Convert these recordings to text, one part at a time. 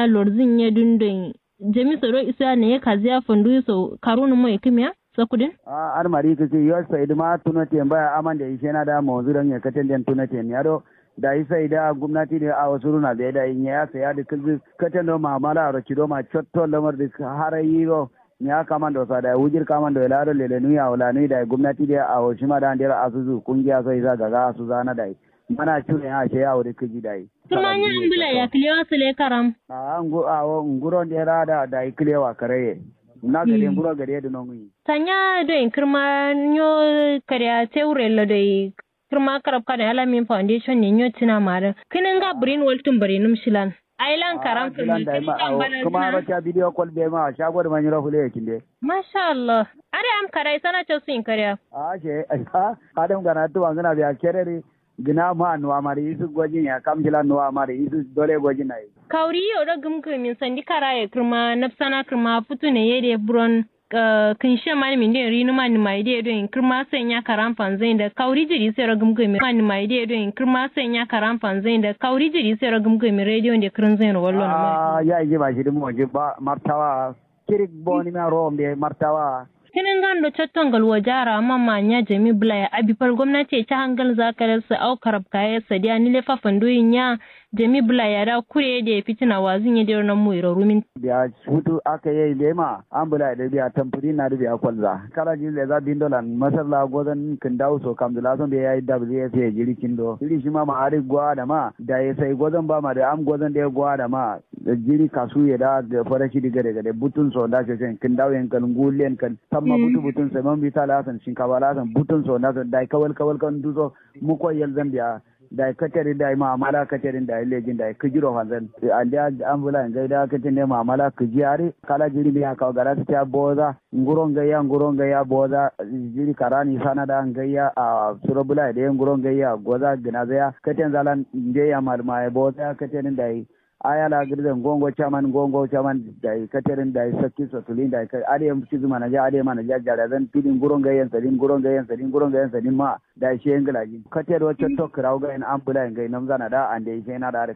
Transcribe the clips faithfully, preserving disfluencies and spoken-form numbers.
Lorzin ye dun doi jami so do isu ya naye kaziya fandu so karunu mo ikimiya. Sakudin. A adǝ mari kǝkǝ yo saidǝ ma tuno temba ya amande ishe na da monzu don ye katen den tuno temiya do. Dayi saidǝ a gumnati dǝ awo suruna be dayi nyeya sai adǝ kǝlzǝ katen do mamala aro cido ma cotto lamar dǝ hara yiro. Nyeya kamando sa dayi wujir kamando ye lado lelenu ya wulanu dayi gumnati dǝ awo shima da andero asuzu kungiya so isa gaga asuza na dayi. Mana cure ya ashe ya wuri kǝji dayi. Kǝrma nya ambula ya kǝlewa sǝle karam. A'a ngu awo nguron de rada dayi kǝlewa karaye. Na gade nguro gade dǝ nonguyi. Sanya doi kǝrma nyo kare a teure lo doi. Kǝrma karab kane alamin foundation ne nyo cina ma dǝ kǝnin ga birin waltun birinum shilan. Ailan karam kǝrma kǝnin ga bana kǝma ro ca bidiyo kol be ma shago dǝ ma nyiro fule yakin de. Masha Allah. Are am karai sana cosu in kariya. A'a she a'a. Adam gana tuwa ngana biya kereri. Gǝna ma nuwa mari isu gojin ya kam jila nuwa mari isu dole gojin na yi. Kauri yo do gǝmgǝmin sandi karaye kǝrma nafsana kǝrma futu ne ye de buron. Kǝnshe man mindin rinu man nima ide do in kǝrma sai nya karam fanzai da kauri jiri sai ro gǝmgǝmin man nima ide do in kǝrma sai nya karam fanzai da kauri jiri sai ro gǝmgǝmin radio de kǝrǝnzai ro wallo na ma. Ya iji ba shi dǝ mo ji ba martawa. Kirik boni ma ro mbe martawa. Kǝnin gando cotto ngal wajara amma ma nya jami bǝla ya abi fal gomnati ye ca hangal za kare sǝ au karab kaye sadiya nile fa fanduyin nya. Jami bǝla ya da kure ye de fitina wazin ye de ro nammu iro rumin. Biya futu aka ye de ma am bǝla ya de biya tamfudin na de biya kolza kala jiri leza bindo lan masar la gozan kǝndawu so kamzǝ la so mbe yayi dabzǝ ye fiye jiri kindo jiri shima ma adǝ gwa da ma. Dayi sai gozan ba ma de am gozan de gwa da ma. Jiri kasuye da farashi dǝ gade gade butun so nda shoshen kǝndawu yen kal ngul yen kal. Tamma butu butun sai man bita la san shinkafa la san butun so nda so dayi kawal kawal kan duso. Muko yalzan biya. Dayi katerin dayi ma'amala katerin dayi lejin dayi kǝjiro fanzan. Andiya am bǝla ngai da katerin dayi ma'amala kǝji adǝ kala jiri mbe ya kawo gada sǝtiya boza. Nguro ngaiya nguro ngaiya boza. Jiri karani sana da ngaiya a suro bǝla ye de nguro ngaiya goza gǝnazaya katen zalan. Mbe ya malmaye boza ya katerin dayi. Aya la gǝrzen ngongo caman ngongo caman. Dayi katerin dayi sakki so tulin dayi adǝ ye cizǝ manaja adǝ ye manaja jadazan tudin nguro ngaiyen sadin nguro ngaiyen sadin nguro ngaiyen sadin ma. Dayi shiye ngǝlajin kate do cotto kǝrawu gayen am bǝlayen gai namzana da ande ishe na da adǝ.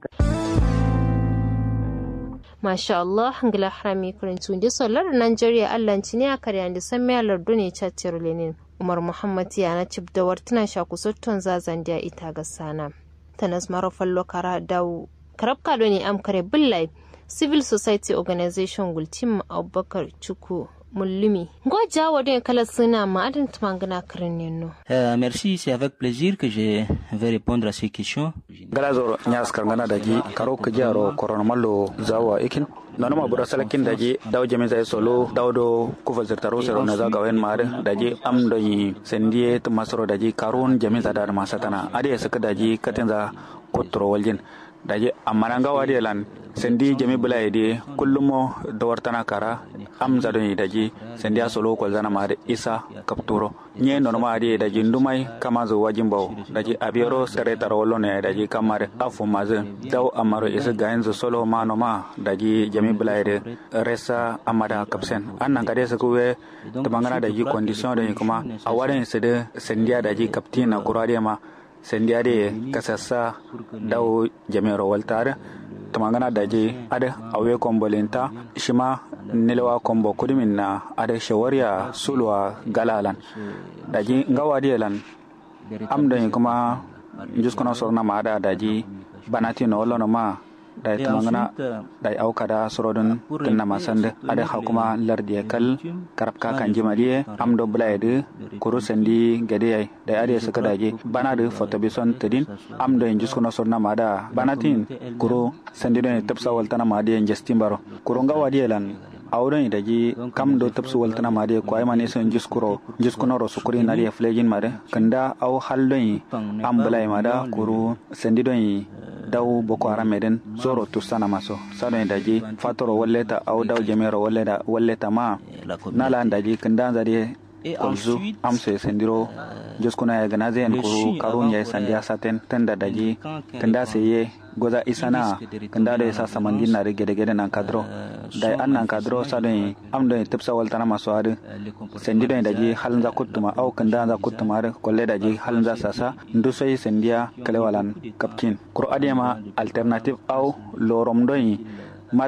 Masha allah. Ngǝla harami kǝrintu nde so lardǝ nanjeriya allan ciniya kariyande sammiya lardone cattero lenin. Umar muhammad yana cibda wartǝna shaku sotton zazandiya ita gassana. Tanas maro fallo kara dawu karabka done am kare bǝllayi. Civil society organization gultim abubakar cuku mullumi ngo jawo done kala sǝna ma'adǝn tǝmangǝna kǝrin nenno. Merci, c'est avec plaisir que je vais répondre à ces questions. Ngla zoro nya askar ngana daji karo kǝjiyaro korono mallo zawa ikin. Nonuma buro salakin daji dawo jamin zaye solo dawo do kufal zirtaro sero naza gawen ma'adǝ daji am donyi sandiye tǝma soro daji karun jamin za da adǝ ma satana adǝ ye sǝkǝ daji katin za kutturo waljin. Daji amma na ngawo adǝ ye lan sandi jami bǝla ye dǝ ye kullum mo dawartana kara. Am za done daji sandi ya solo kolzana ma adǝ isa kapturo. Nye nonuma adǝ ye daji ndumai kamanzǝ wajin bawo daji abiyero sare taro wallono yayi daji kamma adǝ affu mazǝ. Dawo ammaro isǝ gayinzǝ solo ma noma daji jami bǝla ye dǝ. Resa amma da kapsen an nankade sǝkǝ we. Tǝmangana daji condition done kuma awa done sǝdǝ sandiya daji kaptin na kuro adǝ ye ma. Sandi adǝ ye kasassa dawo jami'aro walta adǝ. Tǝmangana daji adǝ awe kombo linta shima nilewa kombo kudumin na adǝ shawariya suluwa gala lan. Daji ngawo adǝ ye lan am done kuma njuskuna sorna ma adǝ daji banatino wallono ma. Dayi tǝmangǝna dayi au kada surodǝn kǝnnama sandǝ adǝ hakuma lardiye kal. Karabka kanjima diye am do bǝlayedǝ kuru sandi gade yayi. Dayi adǝye sǝkǝ daji banadǝ fotobison tǝdin. Am doye njuskuno sodǝnama adǝa banatǝyin kuru sandi done tǝbsa waltǝnama adǝye njastin baro kuru ngawo adǝye lan. Awo done daji kam do tǝbsu waltǝnama adǝye kowayiman isǝ njuskuro njuskunoro sukurin adǝye fǝlejin madǝ kǝnda au hal done. Am bǝlayima da kuru sandi done dawu boko haram ye dǝn zoro tussanama so sa done daji fatoro walleta au dawu jamiyero walleta maa. Na lan daji kǝndanza dǝye kolzu amso ye sandiro. Juskuna ye gǝnaze yen kuru karun yayi sandiya saten tǝnda daji kǝnda saiye goza isana. Kǝnda doi sa samandin nadǝ gedegede nankadǝro dayi an nankadǝro sa done am done tǝbsa waltǝnama so adǝ. Sandi done daji halnza kuttuma au kǝndanza kuttuma adǝ kolle daji halnza sasa ndusoi sandiya kǝlewalan. Kapcin kuru adǝyema alternative au lorom done. Matir